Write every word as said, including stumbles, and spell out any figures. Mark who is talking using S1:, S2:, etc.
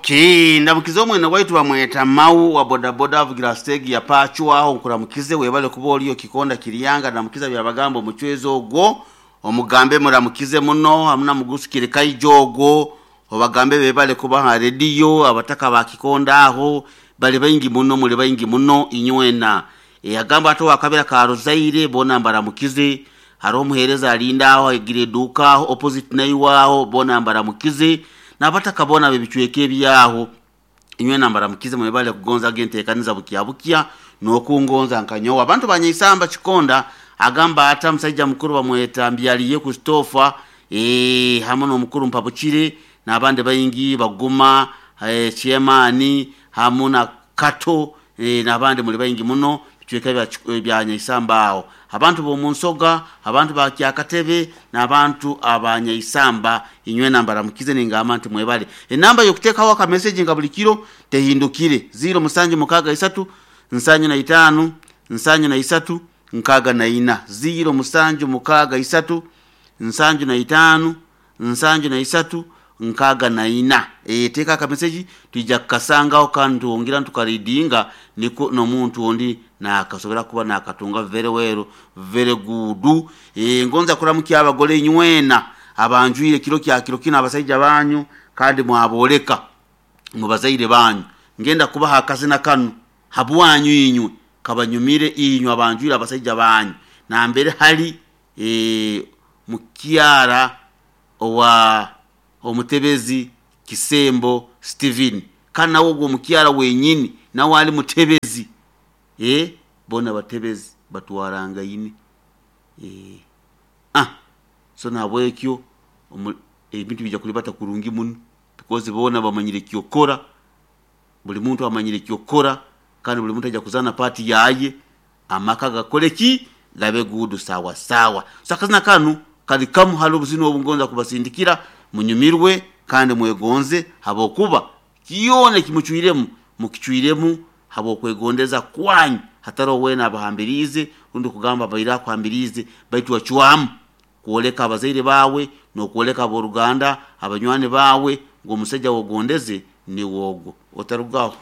S1: Okay, ndamukize omwene waitu bamweta Mau wa bodaboda avugira stage ya Pachu aho, nkuramukize, webale kuba oliyo Kikonda Kiryanga. Ndamukiza Byabagamba omucwezi ogwo, omugambe muramukize muno, hamuna mugusukire kaijo ogwo, obagambe bebale kuba ha rediyo. Abataka ba Kikonda aho bali baingi muno, muli baingi muno inywena. E, agamba ate wakabira ka Rozaire bona mbaramukize. Hariho omuheereza alinda aho agira eduuka aho opposite naiwe aho, bona mbaramukize, n'abataka bona b'ebicweka ebyaho inywena mbaramukize. Mwebale kugonza genteekaniza bukya bukya n'okungonza nkanyowe. Abantu banyaisamba Kikonda, agamba ata musajja mukuru bamweta Mbyaliye Christopher, e, hamwe n'omukuru Mpabukire n'abandi baingi baguma, e, chairman hamu na Kato, e, n'abandi muli baingi muno bicweka bya, bya Nyaisamba aho. Abantu b'omunsoga, abantu ba Kyakatebe n'abantu abanyaisamba inywena mbaramukize, ningamba nti mwebale. Enamba y'okuteekaho akameseji nga buli kiro tehindukire: ziro musanju mukaaga isatu nsanju na itaano nsanju na isatu nkaaga na ina, ziro musanju mukaaga isatu nsanju na itaano nsanju na isatu nkaaga na ina. E, teeka akameseji, twija kukasangaho kandi twongera tukaridinga, niko n'omuntu ondi nakasobora kuba nakatunga. Very well, very good. E, ngonza kuramukya abagole inywena abanjwire kiro kya kiro kino abasaija banyu, kandi mwaboleka mubazaire banyu. Ngenda kubaha akazina kanu habwanyu inywe, kabanyumire inywe abanjwire abasaija banyu. Nambere hali e, mukyara owa omutebezi Kisembo Steven, kandi nawe ogwo omukyara wenyini nawe ali mutebezi. E, bona batebezi batwarangaine. E, ah, so nabwekyo ebintu bijja kulibata kurungi muno because bona bamanyire kyokora, buli muntu amanyire kyokora, kandi buli muntu ajja kuzana part yaye, amaka gakole ki, gabe good, sawa sawa. So akazina kanu kali kamu hali obuzina obungonza kubasindikira, munyumirwe kandi mwegonze, habwokuba kyona ekimucwiremu mukicwiremu habwokwegondeza kwanyu, hatariho weena abahambiriize rundi kugamba abaire akuhambiriize, baitu wacwamu kwoleka abazaire bawe n'okwoleka ab'oruganda, abanywani bawe ngu omusaija wogondeze niwe ogwo otarugaho.